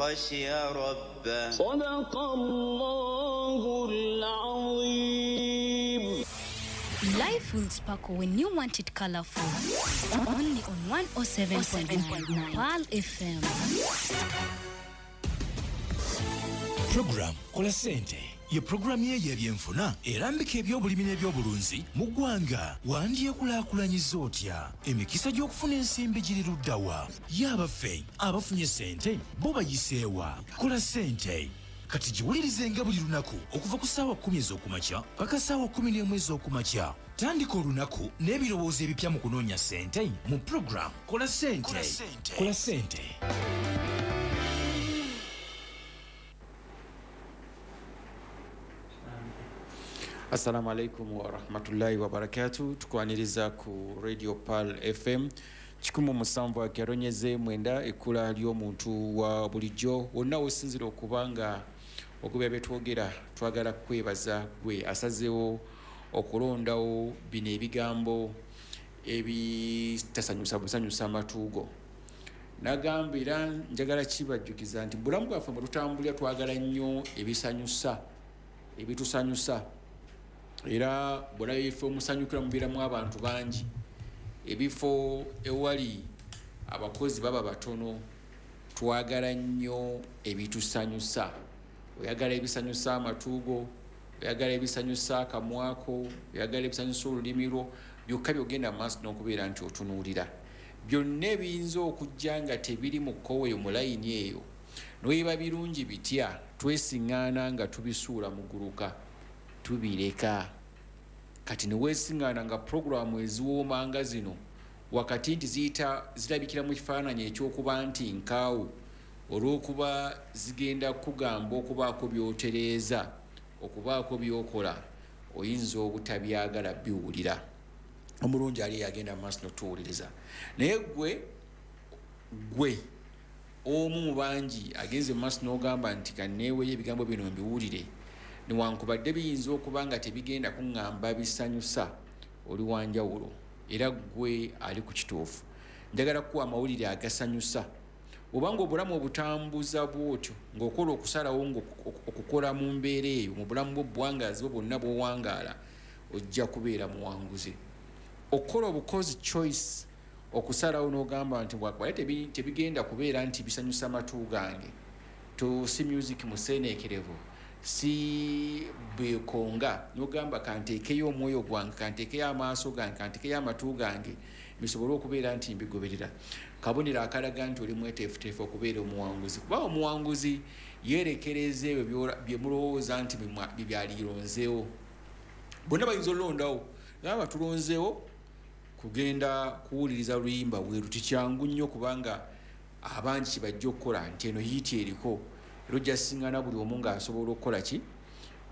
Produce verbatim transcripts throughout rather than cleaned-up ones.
خشي ربه. صدق الله العظيم. Life will sparkle when you want it colorful. Only on one oh seven point nine Pearl F M. Program Kola Sente ye programu ye y'ebyenfuna erambika ebyobulimi n'ebyobulunzi mu ggwanga. Wandyekulaakulanyiza otya? Emikisa gy'okufuna ensimbi giri ludda wa? Ye abaffe abafunye ssente bo bayiseewa? Kola Ssente kati giwulirizenga buli lunaku okuva ku ssaawa kkumi ez'okumakya paka ssaawa kkumi n'emu ez'okumakya. Tandika olunaku n'ebirowoozo ebipya mu kunoonya ssente mu program Kola Ssente. Kola Ssente. Assalamu alaikum wa rahmatullahi wa barakatuh. Tukwaniriza ku Radio Pearl F M kikumu musanvu akeronyeze mwenda ekkula ly'omuntu wa bulijjo. Wonna wosinzira okubanga okubya betwogera, twagala kwebaza gwe asazeewo okulondawo bino ebigambo ebitasanyusa busanyusa amatuugo. Nagamba era njagala kibajjukiza nti bulamu bwaffe bwe tutambulira twagala nnyo ebisanyusa, ebitusanyusa. Era bw'olaba ebifo omusanyukira mubeeramu abantu bangi, ebifo ewali abakozi baba batono. Twagala nnyo ebitusanyusa. Oyagala ebisanyusa amatuugo, oyagala ebisanyusa akamwako, oyagala ebisanyusa olulimi lwo, byokka byogenda mu maaso n'okubeera nti otunuulira. Byonna ebiyinza okujja nga tebiri mu kkowe eyo mu layini eyo, n'oyiba birungi bitya, twesiŋŋaana nga tubisuula muguluka, tubireka. Kati ne weesiŋŋaana nga puroguramu eziwooma nga zino wakati nti ziyita zirabikira mu kifaananyi ekyokuba nti nkaawu, olw'okuba zigenda kugamba okubaako by'otereeza, okubaako by'okola, oyinza obutabyagala biwulira. Omulungi ali yagenda mu maaso n'otuwuliriza. Naye ggwe ggwe omu mu bangi agenze mu maaso n'ogamba nti kanneeweeyo ebigambo bino mbiwulire, newankubadde biyinza okuba nga tebigenda kuŋŋamba bisanyusa, oli wanjawulo era ggwe ali ku kituufu. Njagala kukuwa amawulire agasanyusa. Obanga obulamu obutambuza bw'otyo ng'okola okusalawo okukola mu mbeera eyo mu bulamu bwo buwangaazi bwo bwonna bw'owangaala, ojja kubeera muwanguzi. Okukola obukozi choice, okusalawo n'ogamba nti bwakubale tebigenda kubeera nti bisanyusa amatu gange, to si music museeneekerevu, si bekonga, n'ogamba kanteekeyo omwoyo gwange, kanteekeyo amaaso gange, kanteekeyo amatu gange, bisobole okubeera nti mbigoberera. Kabonero akalaga nti oli mweteefuteefu okubeera omuwanguzi, kuba omuwanguzi yeerekereza ebyo bye mulowooza nti bye byalironzeewo. Bonna bayinza olondawo, gamba tulonzeewo kugenda kuwuliriza luyimba bweru, tikyangu nnyo kubanga abangi kibajja okukola nti eno hiiti eriko, era ojja siŋŋaana buli omu ng'asobola okukola ki,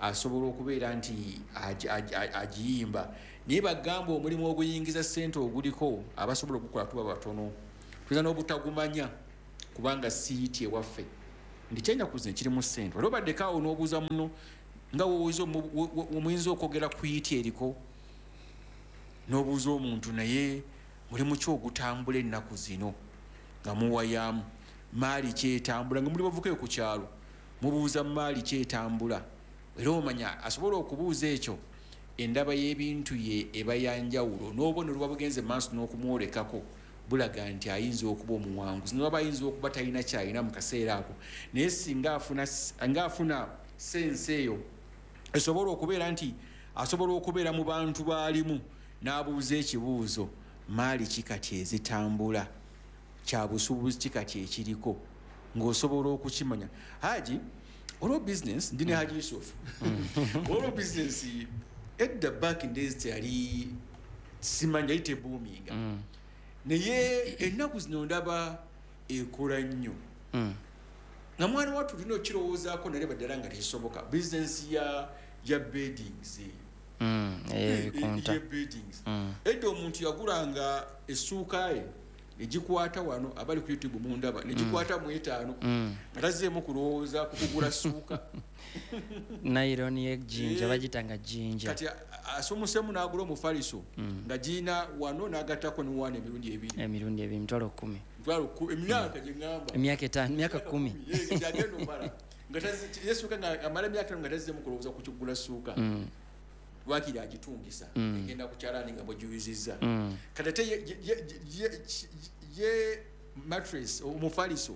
asobola okubeera nti agiyimba. Naye bagamba omulimu oguyingiza ssente oguliko abasobola okugukola tuba batono, tuyinza n'obutagumanya kubanga si hiiti ewaffe. Nti kyennaku zino kirimu ssente, wali obaddeko awo n'obuuza muno nga omuyinza okwogera ku hiiti eriko, n'obuuza omuntu naye mulimu ki ogutambula ennaku zino nga muwayaamu, maali kyetambula, nga muli bavukayo ku kyalo mubuuza maali kyetambula. Era omanya asobola okubuuza ekyo, endaba y'ebintu ye eba ya njawulo, n'obubonero buba bugenze maaso n'okumwolekako bulaga nti ayinza okuba omuwanguzi, n'oba ayinza okuba talina ky'alina mu kaseera ako, naye singa afuna nga afuna sense eyo esobola okubeera nti asobola okubeera mu bantu baalimu n'abuuza ekibuuzo, maali ki kati ezitambula, kya busuubuzi ki kati ekiriko, ng'osobola okukimanya. Haji olwo business ndi ne Haji Yusuf, olwo business edda back in days teyali simanya yali tebuuminga, naye ennaku zino ndaba ekola nnyo. Nga mwana wattu tulina okukirowoozaako nalaba ddala nga tekisoboka. Business ya ya beddings eyo, ebikunta beddings edda omuntu yagulanga essuuka ye Negikwata wano, abali ku YouTube mundaba, negikwata mu etaano nga tazzeemu kulowooza ku kugula ssuuka. Nylon yejjinja. Eh. Bagitanga jjinja. Kati a- asomusemu n'agula omufaliso nga giina wano n'agattako ne wano emirundi ebiri. Emirundi ebiri, mitwalo kumi. Mitwalo ku- emyaka gye ŋŋamba. Emyaka etaano, emyaka kumi. Gyagenda omala nga tazi- yesuuka nga amala emyaka etaano nga tazzeemu kulowooza ku kugula ssuuka. Lwakiri agitungisa, egenda ku kyalaani nga bwegiyuzizza. Kati ate ye- ye- ye- ye- ye mattress, omufaliso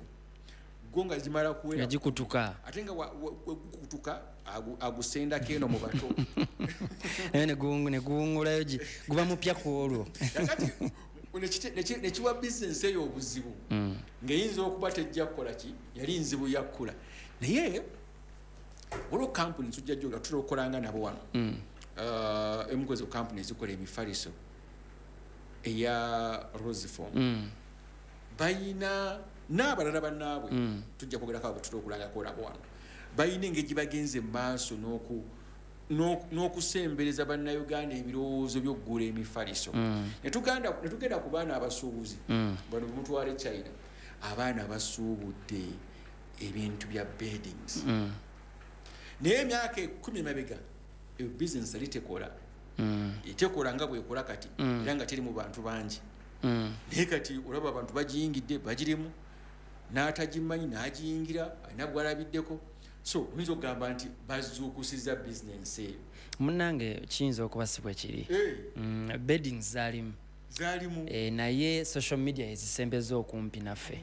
gwo nga gimala kuwera, nga gikutuka. Ate nga wa- wa- we gukutuka, agu- agusendako eno mu bato. Naye ne guwungu- ne guwungulayo, gi- guba mupya ku olwo. Kakati nekite- neki- nekiwa bizinesi eyo obuzibu, ng'eyinza okuba tejja kukola ki, yali nzibu yakkula. Naye waliwo kampuni tujja gyoga tutera okukolanga nabo wano. Uh, emu ku ezo kampuni ezikola emifaliso eya Rosefoam, bayina n'abalala bannaabwe tujja kwogerako abo tutera okulangako nabo wano, bayina engeri gye bagenze mu maaso n'oku- n'oku- n'okusembereza Bannayuganda ebirowoozo by'okugula emifaliso. Ne tuganda- ne tugenda ku baana abasuubuzi bano bemutwala e China, abaana basuubudde ebintu bya beddings. Naye emyaka ekumi emabega eyo bizinesi yali tekola, tekola nga bwekola kati, era nga teri mu bantu bangi. Naye kati olaba abantu bagiyingidde, bagirimu, n'atagimanyi n'agiyingira, alina gwalabiddeko. So oyinza okugamba nti bazuukusiza bizinensi eyo? Munnange, kiyinza okuba si bwe kiri. Eh, Mm, beddings zaalimu. Zaalimu. Eh, naye social media ezisembeza okumpi naffe.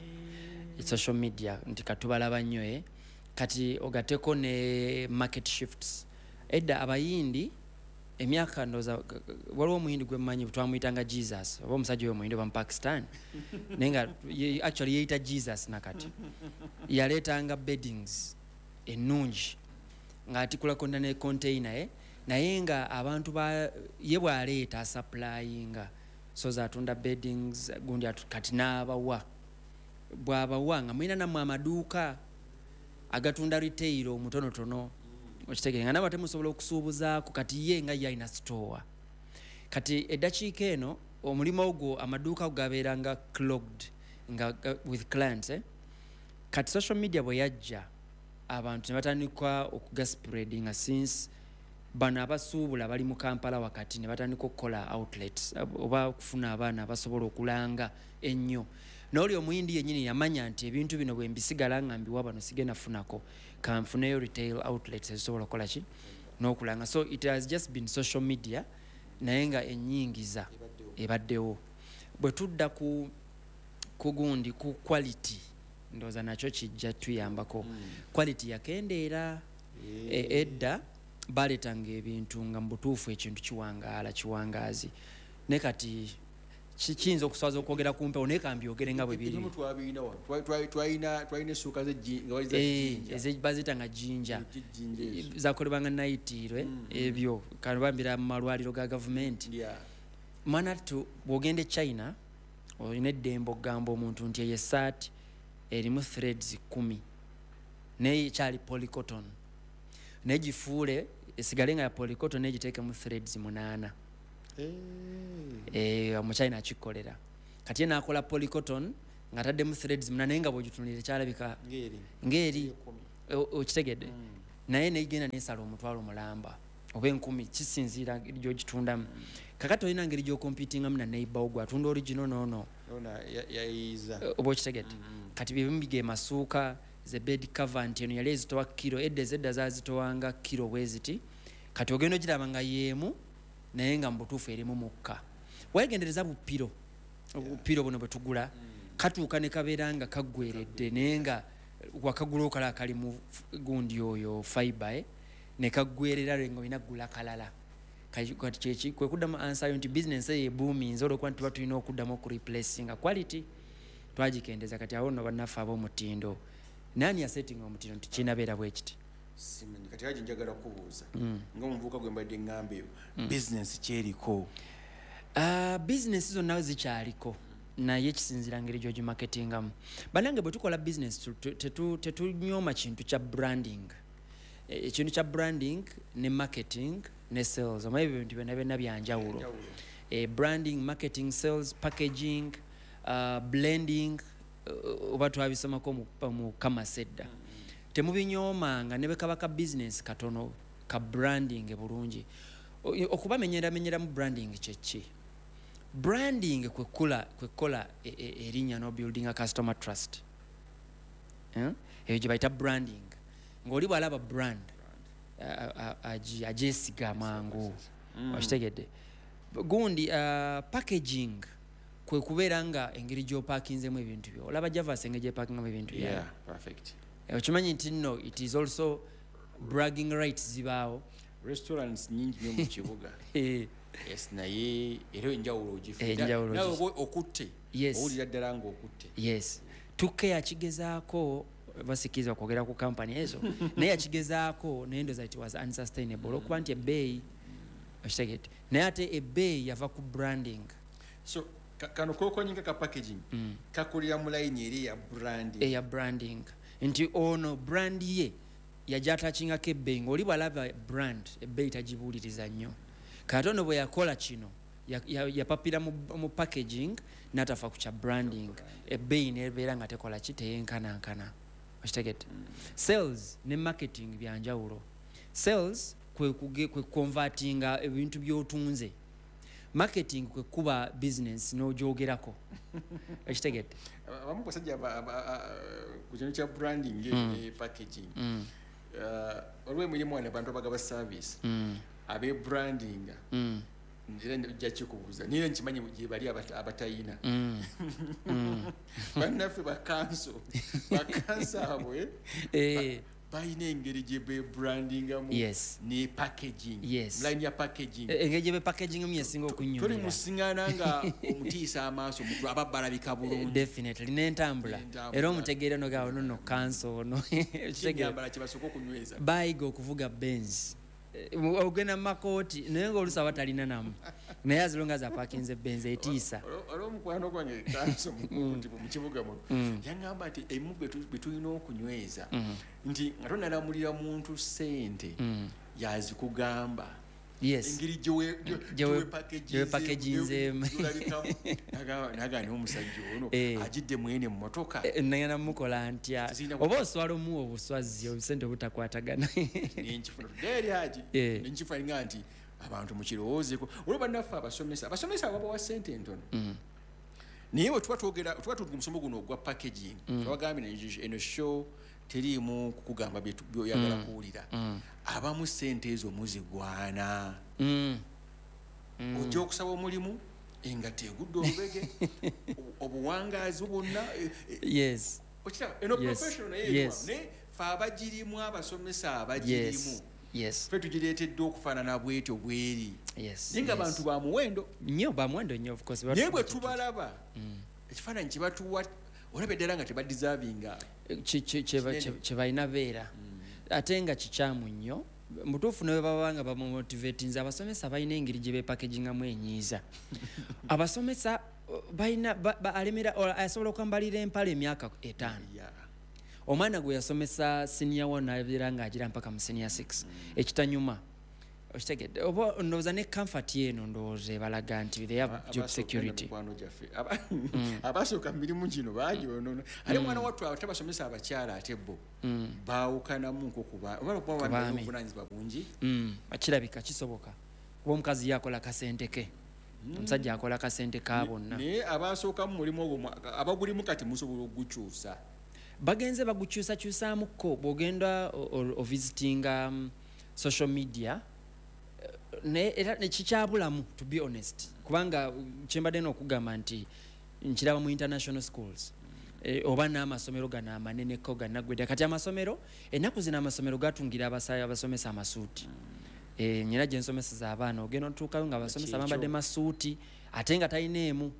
Social media nti katubalaba nnyo, eh. Kati ogateko ne market shifts. Edda Abayindi, emyaka ndooza, waliwo Omuyindi gwe mmanyi twamuyitanga Jesus, oba omusajja oyo Omuyindi oba Mupakistan, naye nga ye- actually yeeyita Jesus. Nakati yaleetanga beddings ennungi ng'atikulako ne container, eh? Naye nga abantu ba ye bw'aleeta asupplyinga, so zatunda beddings gundi atu- kati n'abawa, bw'abawa nga mulina nammwe amaduuka agatunda retail omutonotono, okitegere nga nabo temusobola okusuubuzaako. Kati ye nga ye alina store. Kati eddakiika eno omulimu ogwo amaduuka ago gabeeranga clogged nga ga- with clients, eh? Kati social media bwe yajja, abantu ne batandika okugaspreadinga, since bano abasuubula bali mu Kampala wakati, ne batandika okukola outlets oba okufuna abaana abasobola okulanga ennyo. N'oli Omuyindi yennyini yamanya nti ebintu bino bwe mbisigala nga mbiwa bano sigenda funako, kanfuneyo retail outlets ezisobola okukola ki n'okulanga. So it has just been social media, naye nga ennyingiza ebaddewo. Bwe tudda ku ku gundi, ku quality, ndowooza nakyo kijja tuyambako. Quality yakendeera. E- edda baleetanga ebintu nga mu butuufu ekintu kiwangaala, kiwangaazi, naye kati ki- kiyinza okuswaza okwogera ku mpewo, naye kambyogere nga bwe biri. Ebimu twabirina wano. Twa- twa- twalina twalina essuuka z'ejji- nga bali za Eh, jjinja. eze- baziyita nga jjinja. Ejjinja ezo. Zakolebwanga nayitiirwe ebyo kanobambira mu malwaliro ga gavumenti. Yeah. Mwana tu, bw'ogenda e China olina eddembe okugamba omuntu nti eyo esaati erimu threads kumi, naye ekyali polycotton, naye gifuule esigale nga ya polycotton, naye giteekemu threads munaana. Eh, Omuchina akikolera. Kati ye nakola polycotton ng'ataddemu threads munaana, naye nga bw'ogitunulira ekyalabika Ng'eri. ng'eri O- okitegedde naye negenda nesala omutwalo mulamba oba enkumi, kisinziira gyogitundamu. Kakati olina ngeri gyokompitingamu na neighbor gwe atunda original noono. Ona ya- yayiiza. Oba okitegedde? Kati byebimu bige masuuka ze bed cover, nti eno yali ezitowa kiro, edda ezedda zazitowanga kiro bwe ziti, kati ogenda ogiraba nga yeemu, naye nga mu butuufu erimu mukka. Wegendereza bupiro, obupiro buno bwe tugula katuuka ne kabeera nga kaggweredde, naye nga wakagula okala kali mu f- gundi oyo fiber, eh? Ne kaggwerera nga olina kugula kalala. Kati kati kyeki kwe kuddamu ansayo nti bizinensi eyo ebuuminze olwokuba nti tuba tulina okuddamu okureplacinga quality twagikendeza. Kati awo nno bannaffe ab'omutindo, naani yasetinga omutindo nti kinabeera bwe kiti? Simanyi. Kati haji, njagala kubuuza nga omuvubuka gwe mbadde ŋŋamba, eyo bizinesi kyeriko? Ah, bizinesi zonna zikyaliko, naye kisinziira ngeri gyogimaketingamu. Bannange, bwe tukola bizinesi tu- tu- tetu- tetunyooma kintu kya branding. E- ekintu kya branding ne marketing ne sales, omanyi ebyo bintu byonna byonna byanjawulo. Eh, branding, marketing, sales, packaging, uh, blending, uh, oba twabisomako mu, mu kamasedda. Mm. Temubinyoomanga ne bwe kaba ka business katono ka branding bulungi. Okubamenyera menyera mu branding kyeki? Branding kwekula kwekola erinnya no building a customer trust. Eh? Eyo gye bayita branding. Ng'oli bw'alaba brand agyesiga mangu. Okitegedde. Gundi uh, packaging kwe kubeera nga engeri gy'opakinzemu ebintu byo. Olaba Javas engeri gy'epakingamu ebintu byayo. Yeah, perfect. Okimanyi nti nno it is also bragging rights zibaawo. Restaurants nyingi nnyo mu kibuga. Yes, naye era enjawulo ogifuna. Nawe okutte. Owulira ddala ng'okutte. Yes. Tuke yakigezaako basikiriza okwogera ku company ezo. Naye yakigezaako naye ndowooza it was unsustainable olwokuba nti ebbeeyi okitegedde. Naye ate ebbeeyi yava ku branding. So kano kokonyinga ka packaging mm. kakulira mu line eri ya branding. Eya branding. Nti ono brand ye yajja atachingako ebbeeyi ng'oli bw'alaba brand ebbeeyi tagibuuliriza nnyo. Katono bwe yakola kino yapapira mu, mu packaging n'atafa ku kya branding, ebbeeyi n'ebeera nga tekola ki, teyenkanankana. Okitegedde. Mm. Sales ne marketing bya njawulo. Sales kwe kwe convertinga ebintu by'otunze. Marketing kwe kuba business n'ogyogerako. Okitegedde. Abamu basajja ku kintu kya branding ne packaging. Mm. Uh, olwo emirimu wano abantu abagaba service. Mm. Abe branding. Mm. Era nja kikubuuza niye nkimanyi gye bali abatayina. Mm. Mm. Bannaffe bakanso bakanso abwe eh balina engeri gye bebrandingamu. Yes. Ne packaging. Yes. Line ya packaging. Engeri gye bepackaging yesinga okunyumira. Toli musiŋŋaana nga omutiisa amaaso omuntu aba balabika bulungi. Definitely n'entambula. Era omutegeera n'ogamba no no kanso ono. Ekyambala kye basooka okunyweza. Bayiga okuvuga Benz. Ogenda mu makooti naye ng'oluusi aba talina namu, naye as long as apakinze Benz etiisa. Olwo omukwano gwange kanso mu kibuga muno yaŋŋamba nti ebimu bye tulina okunyweza nti nga tonalamulira muntu ssente yazikugamba. Yes. Engeri gyewepakeginzeemu. Nagamba naye omusajja ono agidde mwene mu mmotoka. Nagenda mukola ntya oba oswala omuwa obuswazi obusente obutakwatagana. Nenkifuna tudde eri agi nenkifuna nga nti abantu mukirowoozeeko. Olwo bannaffe abasomesa abasomesa babawa ssente entono. Naye bwe tuba twogera tuba tuli ku musomo guno ogwa packaging twabagambye eno show teriimu kukugamba byoyagala kuwulira. Abamu ssente ezo muzigwana. Ojja okusaba omulimu engatto egudde olubege, obuwangaazi bwonna. Yes. Okiraba eno professional naye naye ffe abagirimu abasomesa abagirimu. Yes. Ffe tugireetedde okufaanana bwetyo bweri. Yes. Naye nga abantu ba muwendo. Nnyo ba muwendo nnyo of course. Naye bwe tubalaba ekifaananyi kye batuwa olaba eddala nga tebadeservinga kye balina beera. Ate nga kikyamu nnyo. Mutuufu ne bwe baba nga bamumotivatinze abasomesa balina engeri gye beepakegingamu enyiiza. Abasomesa balina alemera asobola okwambalira empale emyaka etaano. Omwana gwe yasomesa senior one abeera ng'agira mpaka mu senior six. Ekitanyuma. Okitegedde. Oba ndowooza ne comfort eno ndowooza ebalaga nti they have job security. Abasooka mu mirimu gino baagyonoona. Ate omwana wattu atabasomesa abakyala ate bo baawukanamu nko oba okuba balina obuvunaanyizibwa bungi. Kirabika kisoboka. Kuba omukazi ye akola kasente ke. Omusajja akola kasente ka bonna. Naye abasooka mu mulimu ogwo abagulimu kati musobola okugukyusa. Bagenze bagukyusakyusaamuko bw'ogenda ovisitinga social media naye era nekikyabulamu to be honest, kubanga kyembadde n'okugamba nti nkiraba mu international schools e, oba n'amasomero gano amaneneko gannaggwedde. Kati amasomero ennaku zino amasomero gatungira abasomesa amasuuti. E, nyina gye nsomeseza abaana ogenda otuukayo nga abasomesa bambadde masuuti ate nga talina emu,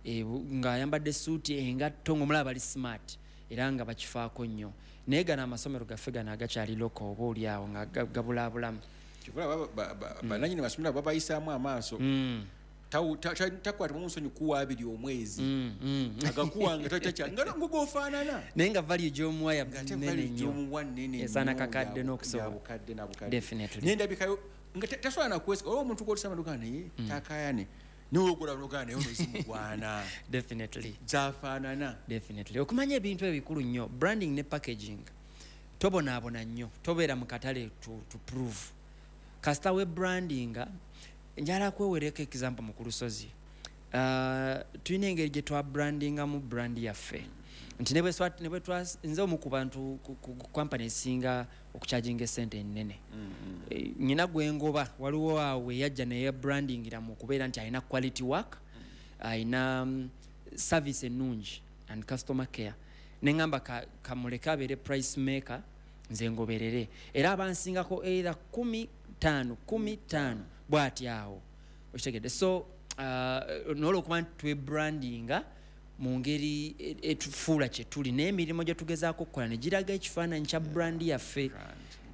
e, ng'ayambadde suuti engatto ng'omulaba bali smart era nga bakifaako nnyo. Naye gano amasomero gaffe gano agakyali loko oba oli awo nga gabulaabulamu. Bannannyini masomero babayisaamu amaaso. Takwata nsonyi kuwa abiri omwezi agakuwanga takya nga ng'ofaanana naye nga value gy'omuwa ya nnene nnyo esaana kakadde n'okusoba definitely nendabikayo nga tasobola nakwesiga olwo omuntu gw'otusaba ndoga naye takaayane Niwogula nogaa naye ono zimugwana. Definitely. Zafaanana. Definitely. Okumanya ebintu ebikulu nnyo, branding ne packaging, tobonaabona nnyo, tobeera mu katale to, to prove. Kasita we brandinga, njala kwewereko example mu Kulusozi. Uh, tulina engeri gye twabrandingamu brand yaffe nti ne bwe swa- ne bwe twa- nze omu ku bantu ku- ku ku company esinga okucharginga esente ennene. Eh, nyina gwengoba waliwo awo eyajja naye brandingira mu kubeera nti alina quality work, alina mm, service ennungi and customer care, neŋŋamba ka- kamuleke abeere price maker, nze ngoberere, era abansingako either kumi taano kumi taano bw'ati awo, okitegedde? So uh, nolwokuba nti twebrandinga mu ngeri e- etufuula kye tuli n'emirimu gye tugezaako okukola ne giraga ekifaananyi kya brand yaffe.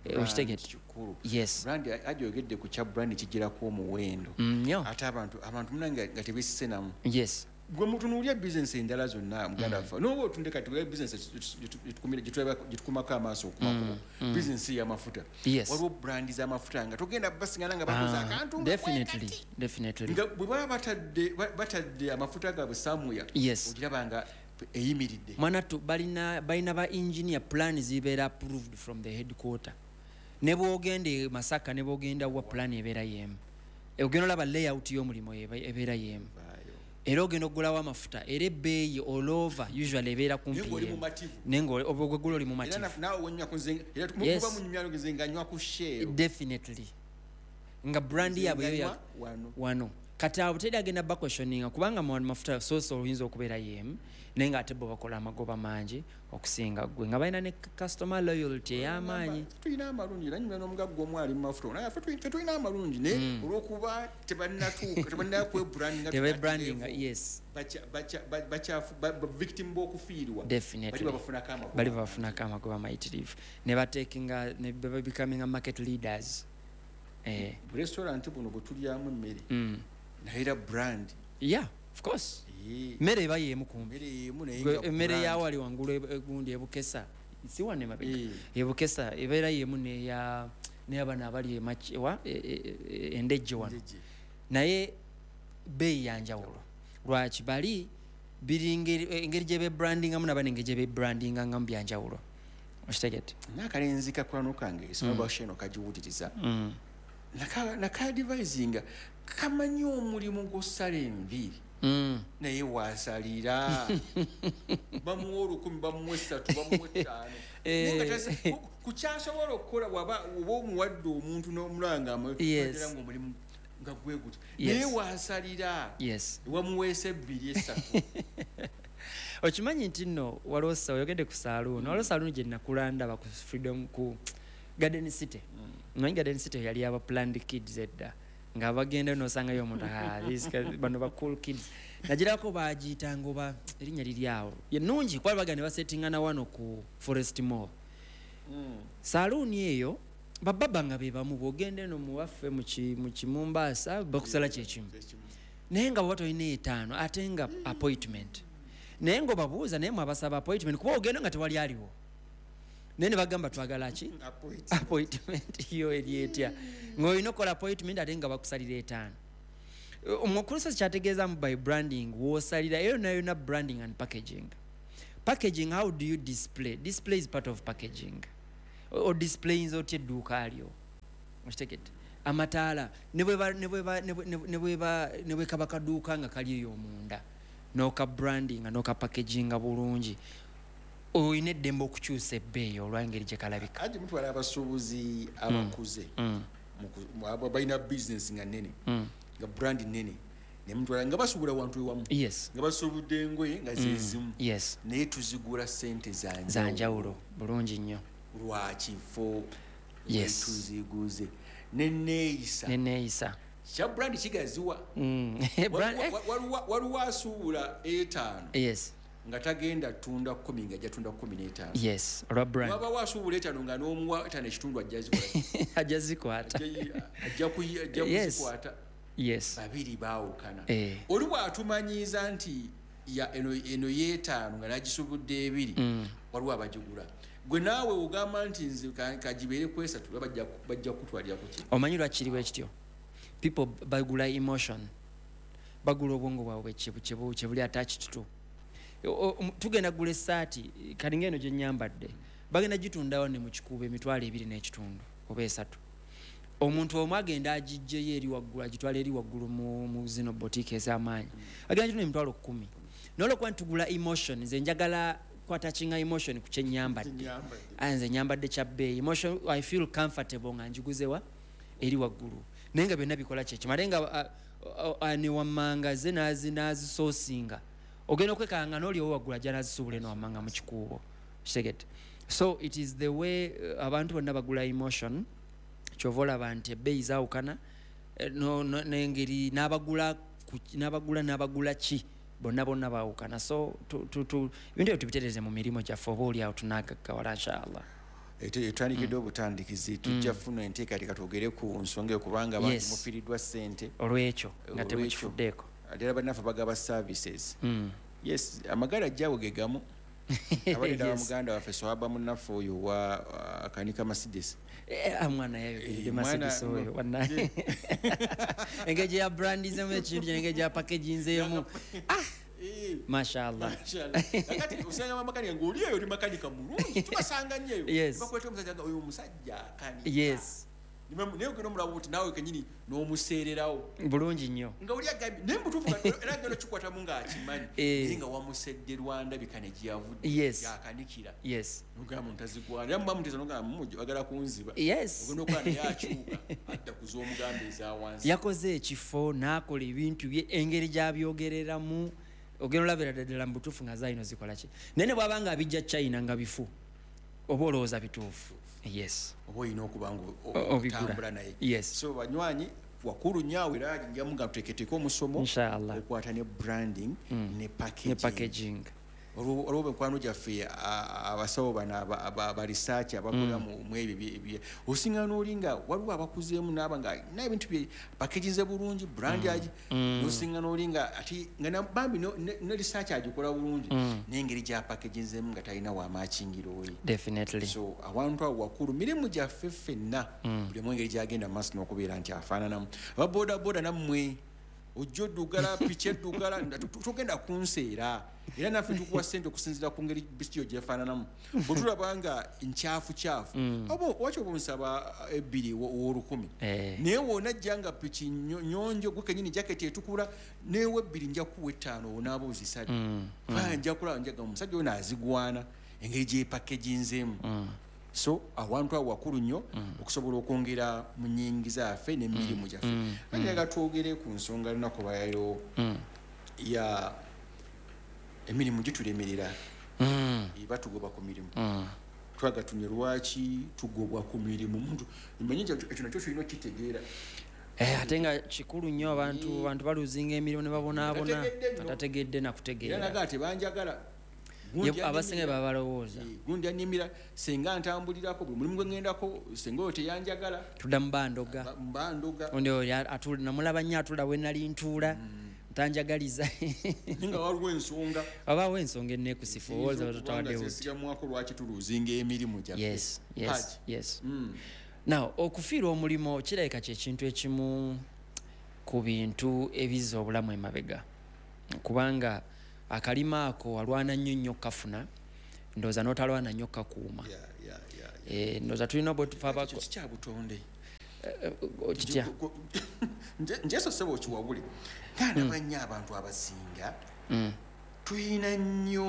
Eh, okitegedde? Kikulu. Yes. Brand, ajoyogedde ku kya brand, kigirako omuwendo. Nnyo. Ate abantu abantu munange nga tebesise namu. Yes. Gwe mutunuulya bizinesi endala zonna, muganda waffe, noba otunde kati bizinesi gyetukumako amaaso okumakubo, bizinesi y'amafuta. Yes. Waliwo brandi z'amafuta nga togenda basingana nga bakoze Ah, akantu nga definitely bwekati. Definitely. Nga bwe baba batadde ba- batadde amafuta gaabwe samuya, Yes. ogiraba nga eyimiridde. Mwana tu balina balina ba engineer, plan zibeera approved from the headquarter. Ne bwogenda e Masaka, ne bwogenda wa, plan ebeera yemu. Ogenda olaba layout y'omulimu eba- ebeera yemu, era ogenda okugulawo amafuta, era ebbeeyi olova usually ebeera kumpi Naye ng'oli yemu. mumativu. Naye ng'oli- oba ogwegula oli Era mumativu. na- naawe wenywako nze era Yes. muba munyumya nze nga nywa ku Shell. Definitely, nga brand Nze yaabwe yo nga ya- nywa wano. Wano kati awo teri agenda baquestioninga, kubanga mu mafuta source oyinza okubeera yemu, naye ngaate bo bakola amagoba mangi okusinga gwe, nga balina ne customer loyalty ey'amaanyi. Tulina amalungi era nyumya n'omugagga omu ali mu mafuta, naye ffe tuli- ffe tulina amalungi, naye olw'okuba tebannatuuka, tebannakwebrandinga, Tebebrandinga, yes. Victim b'okufiirwa. Definitely. Bali babafunako amagoba. Bali babafunako amagoba mayitirivu, ne batekinga ne becoming market leaders, eh. Bu restaurant buno bwe tulyamu emmere, mm. naye era brand. Yeah, of course. Eh, Mmere eba yemu kumbi. Emmere yemu, naye Gwe nga emmere brand. yawali wangulu egundi ebukesa, si wano emabega, Eh. ebukesa ebeera yemu neya neyabano abali emachi- wa e- e- e- endejje wano. Endejje. Naye beeyi yanjawulo. Lwaki? Bali biri ngeri- engeri gye bebrandingamu nabano engeri gye bebrandingangamu byanjawulo, okitegedde? N'akalenzi kakwano kange esomabasheno kagiwuliriza, Mm. nakadivisinga kamanyi omulimu gw'osala enviiri, Mm. naye wasalira bamuwa olukumi, bamuwa esatu, bamuwa etaano. Eh. Naye nga tasa- ku- ku kyasobola okukola, bwaba oba omuwadde omuntu n'omulanga Yes. nga omulimu nga gwe guti, Yes. naye wasalira Yes. wamuweesa ebbiri esatu. Okimanyi nti nno waliwo sa- oyogedde ku saaluuni, waliwo saaluuni gye nakula ndaba ku Freedom, ku Garden City. Manyi Garden City yali aba Planned Kids edda, nga bagenda nosangayo omuntu, "Ah, these guys, bano ba cool kids." Nagirako bagiyitanga oba erinnya liri awo yenungi kuba baga ne basetingana wano ku Forest Mall. Saaluuni eyo bababa nga be bamu, bwogenda eno muwaffe mu ki- mu Kimumbaasa bakusala kyekimu, naye nga bwoba tolina etaano ate nga appointment, naye nga obabuuza, naye mwabasaba appointment kuba ogenda nga tewali aliwo, naye ne bagamba twagala ki? Appointment. Yo eri etya ng'olina okukola appointment ate nga bakusalira etaano? Omukulusozi kyategeezamu by branding woosalira eyo yonna yonna, branding and packaging. Packaging, how do you display? Display is part of packaging. O- odisplayinza otya edduuka lyo, okitegedde? Amataala ne bweba- ne bweba- ne bwe- ne bweba- ne bwe kaba kaduuka nga kali eyo omunda, n'oka brandinga n'oka packaginga bulungi, olina eddembe okukyusa ebbeeyi olw'engeri gye kalabika. Anti mutwala abasuubuzi abakuze, Mm. muku- mu- abo balina bizinesi nga nene, nga brand nene, nemutwala nga basuubula wantu ewamu, Yes. nga basuubudde engoye nga zezimu, Yes. naye tuzigula sente zanjawulo. Zanjawulo bulungi nnyo. Lwakifo Yes. tuziguze neneeyisa Neneeyisa. kya brand kigaziwa. Mm. Brand- Waliwo- waliwo- waliwo asuubula etaano yes nga tagenda tunda kumi, nga ajja tunda kumi n'etaano. Yes, olwa brand. Wabawo asuubula etaano nga n'omuwa etaano ekitundu ajja zikola. Ajja zikwata. Ajja- ajja kuyi- ajja Yes. kuzikwata. Yes. Babiri baawukana. Eh. Oli bw'atumanyiiza nti ya- eno eno yeetaano nga nagisubudde ebiri, Mm. waliwo abagigula. Gwe naawe ogamba nti nze ka- kagibeere ku esatu, bajja bajja kukutwalira ku ki? Omanyi lwakiriwo ekityo? People bagula emotion. Bagula obwongo bwabwe kyebuli attached to. Tugenda gula essaati kalinga eno gye nnyambadde, bagenda gitundawo ne mu Kikuubo emitwalo ebiri n'ekitundu oba esatu. Omuntu omu agenda agijjeyo eri waggulu, agitwala eri waggulu mu zino botiike ez'amaanyi, agenda gitunda emitwalo kkumi. N'olwokuba nti tugula emotion, nze njagala kwattachinga emotion ku kye nnyambadde, nze nnyambadde kya bbeeyi, emotion, I feel comfortable nga njiguzewa eri waggulu. Naye nga byonna bikola kyekimu, ate nga ne wammanga ze n'azisoosinga, ogenda okwekanga n'oli owa waggulu ajja n'azisuubula eno wammanga mu Kikuubo. Kitegedde? So it is the way abantu bonna bagula emotion. Kyova olaba nti ebbeeyi zaawukana n'engeri n'abagula n'abagula n'abagula ki bonna bonna baawukana. So ebintu ebyo tubitereeze mu mirimu gyaffe, oba oli awo tunaagaggawala inshallah. Etwandikiddwa obutandikizi, tujja funa enteekateeka twogere ku nsonga eyo, kubanga abantu mufiiriddwa ssente olw'ekyo nga temukifuddeeko. Ate era bannaffe bagaba services. Yes, amagala ajjawo ge gamu. Abadde wa muganda waffe Swahaba munnaffe oyo wa akanika Mercedes. Mwana yayogeredde Mercedes oyo wannaye. Engeri gye yabrandizemu ekintu kye, engeri gye yapakeginzeemu. Mashallah. Kakati osanga makanika ng'oli eyo oli makanika mulungi, tubasanga nnyo eyo. Bakweta omusajja nga oyo omusajja akanika. Yes. Naye ogenda omulaba oti naawe kennyini n'omuseererawo. Bulungi nnyo. Nga oli agambye naye mubutuufu era agenda okikwatamu ng'akimanyi. Naye nga wamusedde lwandabika ne gye yavudde. Yakanikira. Yes. N'ogamba ntazigwana. Era muba muteesa n'ogamba mwagala kunziba. Yes. Ogenda okulaba naye akyuka adda ku z'omugamba eza wansi. Yakoze ekifo n'akola ebintu bye engeri gy'abyogereramu. Ogenda olabira ddala mu butuufu nga zaalino zikola ki. Naye ne bw'aba nga abijja China nga bifu, oba olowooza bituufu. Yes. Oba olina okuba nga otambula naye. Yes. So banywanyi wakulu nnyo awo era njamu nga tuteeketeeke omusomo okwata ne branding ne packaging. Ne packaging. Olwo mikwano gyaffe abasawo bano aba research abakola mu ebyo osinga n'oli nga waliwo abakuzeemu n'aba nga alina ebintu bye packaginze bulungi, brand agi, n'osinga n'oli nga ate nga bambi ne research agikola bulungi n'engeri gy'apackaginzeemu nga talina wamaakingiro we. Definitely. So awantu awo wakulu mirimu gyaffe ffenna buli omu engeri gy'agenda mu maaso n'okubeera nti afaananamu. Aba boodabooda nammwe ojja oddugala, piki eddugala, togenda kunseera. Era naffe tukuwa ssente okusinziira ku ngeri bisiyo gyefaananamu. Bwe tulaba nga nkyafu kyafu, oba waki oba onsaba ebbiri ow'olukumi. Naye w'onajja nga piki nnyonjo gwe kennyini jaketi etukula, neewa ebbiri nja kukuwa ettaano onaaba ozisabye. Kubanga nja kulaba njaga omusajja ono azigwana engeri gy'epackaginzeemu. So awantu awo wakulu nnyo okusobola okwongera mu nnyingiza yaffe n'emirimu gyaffe. Njagala twogere ku nsonga lunaku lwaleero ya emirimu gitulemerera. Batugoba ku mirimu. Twagatumye lwaki tugobwa ku mirimu. Omuntu mmanyi nti ekyo nakyo tulina okukitegeera. Ate nga kikulu nnyo abantu abantu baluzinga emirimu ne babonaabona batategedde na kutegeera. Era naga tebanjagala. Abasinga babalowooza. Gundi annimira singa ntambulirako buli mulimu gwe ŋŋendako singa oyo teyanjagala. Tudda mu bandoga. Mbandoga. Ondi oyo atula namulaba nnyo atula we nali ntuula. Ntanjagaliza. Nga waliwo ensonga. Wabaawo ensonga enneekusifu olowooza tutawaddewo. Zeesigamwako lwaki tuluzinga emirimu gyaffe. Yes, yes, yes. Now okufiirwa omulimu kirabika kye kintu ekimu ku bintu ebizza obulamu emabega. Kubanga akalima ako alwana nnyo nnyo kafuna, ndowooza n'otalwana nnyo kakuuma. Ndowooza tulina bwe tufa abako. Ekyo kya butonde. Kitya? Nje so ssebo okiwabule. Nga ndaba nnyo abantu abasinga tulina nnyo